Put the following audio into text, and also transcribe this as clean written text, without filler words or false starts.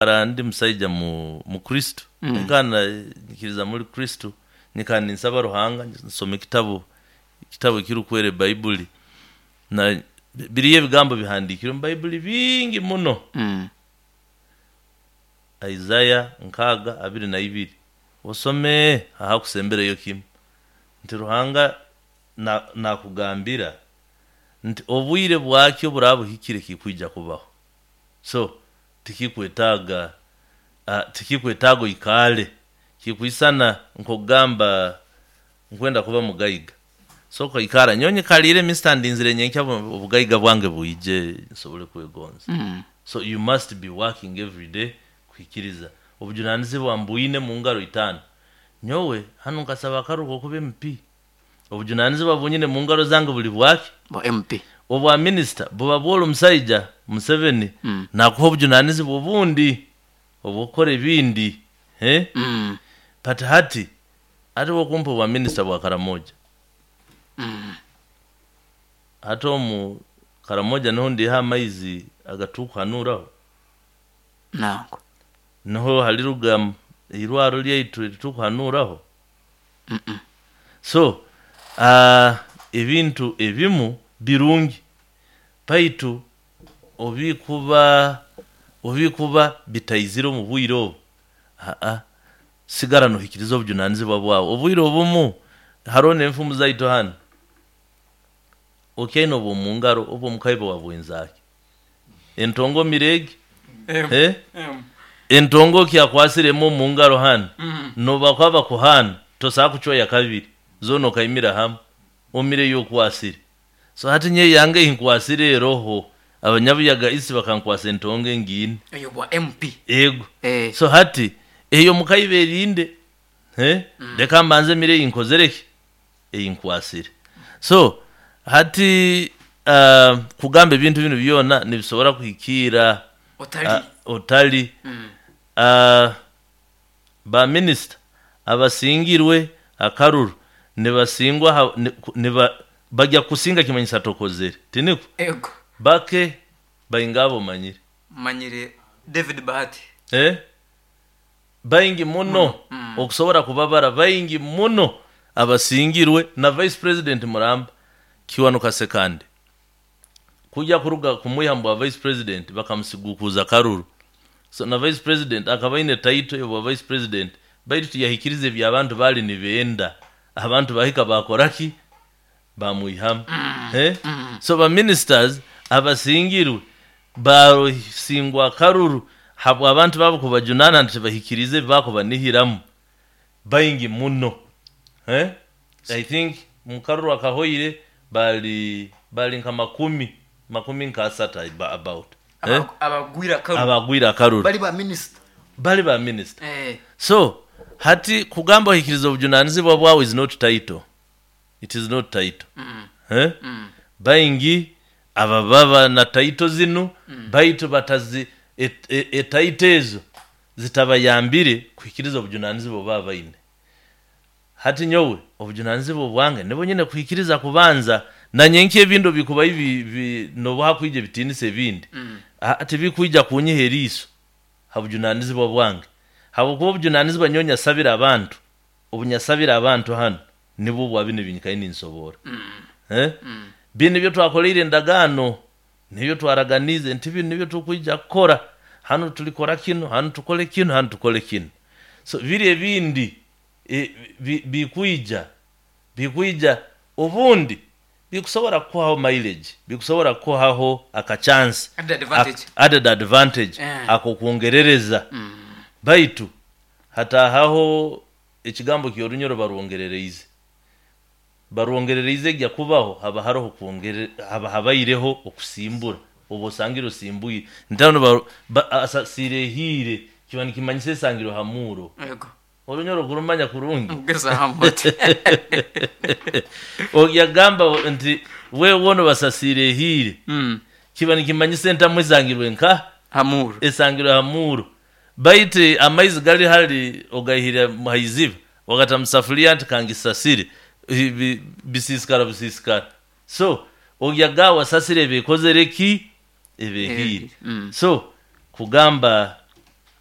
Ndi musaija mu Kristo, nyikara nyikiririza muli Kristo, nyikara ninsaba Ruhanga, nsoma ekitabu ekirukwera ebaiburi, na biriyo ebigambo bihandiikire omu Baiburi bingi muno. Isaiah 6:22, osome ahakusembereyo kimu nti Ruhanga naakugambira nti obwire bwakyo oburaaba buhikire kikwija kubaho. So tikikwetaaga tikikwetaaga oikaale, kikwisana nk'okugamba nkwenda kuba mugaiga, so okaikara nyowe nyikaliire mister ndinzire nyenkya obugaiga bwange bwije nsobole kwegonza. So you must be working everyday kuhikiriza obujunaanizibwa mbwine mu ngaro itaano. Nyowe hanu nkasaba akaruru k'okuba MP, obujunaanizibwa obu nyine mu ngaro zange buli bwaki? Bwa MP. Obwa minisita buba bwoli omusaija Museveni naakuha obujunaanizibwa obundi obw'okukora ebindi, But hati, hati bw'okumpa obwa minisita bwa Karamoja, hati omu Karamoja niho ndiiha amaizi agatukuhanuuraho? Nangwa. Niho hariruga eirwaro ryaitu eritukuhanuuraho? So, ebintu ebimu birungi baitu obikuba bitaizire omu bwire obu, sigara nohikiriza obujunaanizibwa bwawe. Obwire obumu haroho n'enfumu zaitu hanu, okyaine obw'omu ngaro obw'omukaibo wabwenzaaki? Entongo omire egi? Entongo okyakwasire emwe omu ngaro hanu, n'obu bakuba bakuhaana, tosobola kucwayo kabiri, zoona okaimira hamu, omire ei okwasire. So hati nyowe eyange ei nkwasire eroho, abanyabuyaga East bakankwasa entongo engiine. Eyo bwa MP. Ego. So hati ey'omukaibo erinde, leka mbanze mire ei nkozire ki? Ei nkwasire. So hati kugamba ebintu binu byona nibisobora kuhikiira Otali. Otali. Ba minisita abasingirwe akaruru nibasingwa bagya kukusinga kimanyisa tokozere, tinikwo? Ego. Bake bainga abo omanyire? Manyire David Bahati. Baingi muno okusobora kubabara baingi muno abasingirwe na Vice President muramba Kiwanuka Ssekandi. Kugya kuruga kumwiha mu bwa Vice President bakamusiguukuuza akaruru. So na Vice President akaba aine title y'obwa Vice President baitu tiyahikiriza ebi abantu baali nibenda. Abantu baahika baakora ki? Baamwihamu. So ba ministers abasingirwe baasingwa akaruru habw'abantu baabo kubajunaana nti tibahikiriize ebi baakubanihiramu baingi muno. I think mu karuru akahoire baali baali nka makumi, makumi nk'asatu about. Abagwire akaruru. Abagwire akaruru. Bali ba minisita. Bali ba minisita. So hati kugamba ohikirize obujunaanizibwa bwawe is not title. It is not title. Baingi ababa na title zinu baitu batazi etitle ezo zitabayambire kuhikiriza obujunaanizibwa obu baba baine. Hati nyowe obujunaanizibwa obwange nibwo nyine kuhikiriza kubanza, na nyenkya ebindi obu bikubayo n'obu hakwija ebitiinisa ebindi, tibikwija kunyiha eriiso ha bujunaanizibwa bwange habwokuba obujunaanizibwa nyowe nyasabire abantu, obu nyasabire abantu hanu nibwo bwa binu ebi nyikaire ninsoboora. Binu nibyo twakoleire endagaano, nibyo twaraganiize nti binu nibyo tukwija kukora, hanu tulikora kinu, hanu tukole kinu, hanu tukole kinu. So biri ebindi bikwija, bikwija obundi bikusobora kukuhaho mileage, bikusobora kukuhaho aka chance, Added advantage. Added advantage ak'okwongerereza baitu hataahaho ekigambo ky'Orunyoro barwongerereize. Barwongerereize egya kubaho haba haroho haba habaireho okusimbura, oba osangire osimbwire. Nti hanu asasiire ehiire kiba nikimanyisa esangirwe ha muuro. Ego. Orunyoro okurumanya kurungi. Ngezaamu oti. Yagamba nti wewe onu basasiire ehiire, kiba nikimanyisa entamu esangirwe nka? Ha muuro. Esangirwe ha muuro. Baitu amaizi gali hali ogaihire ha iziba ogata mu safuliya nti kangisasire, bisiisikara busiisikara. So ogyaga wasasire eba ekozere ki? Eba ehiire. So kugamba.